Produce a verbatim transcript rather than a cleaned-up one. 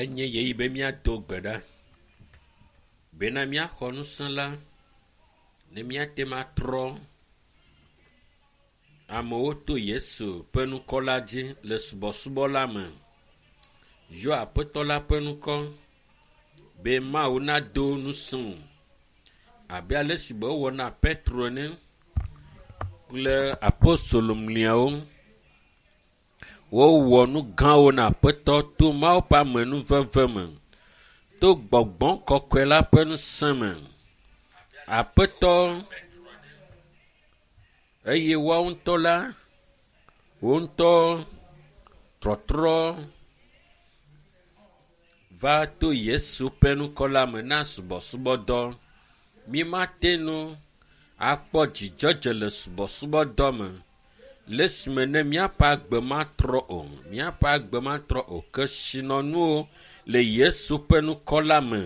Enye ɣeyiɣi be míado gbe ɖa bena míaxɔ ŋusẽ la ne míate ŋu atrɔ amewo to Yesu ƒe ŋkɔ la dzi le subɔsubɔ la me. Yɔ Aƒetɔ la ƒe ŋkɔ be Mawu nado ŋusẽ wò abe ale si be wowɔ na Petro ene kple apostolo mliawo. Wowɔ nu gãwo na Aƒetɔ to Mawu ƒe amenuveve me, to gbɔgbɔ kɔkɔe la ƒe ŋusẽ me. Aƒetɔ eye woawo ŋutɔ la, wo ŋutɔ trɔtrɔ va to Yesu ƒe ŋkɔ la me na subɔsubɔdɔ. Mímate ŋu akpɔ dzidzɔdze le subɔsubɔdɔ me le esime ne míaƒe agbe matrɔ o. Míaƒe agbe matrɔ o. Kesinɔnuwo le Yesu ƒe ŋkɔ la me.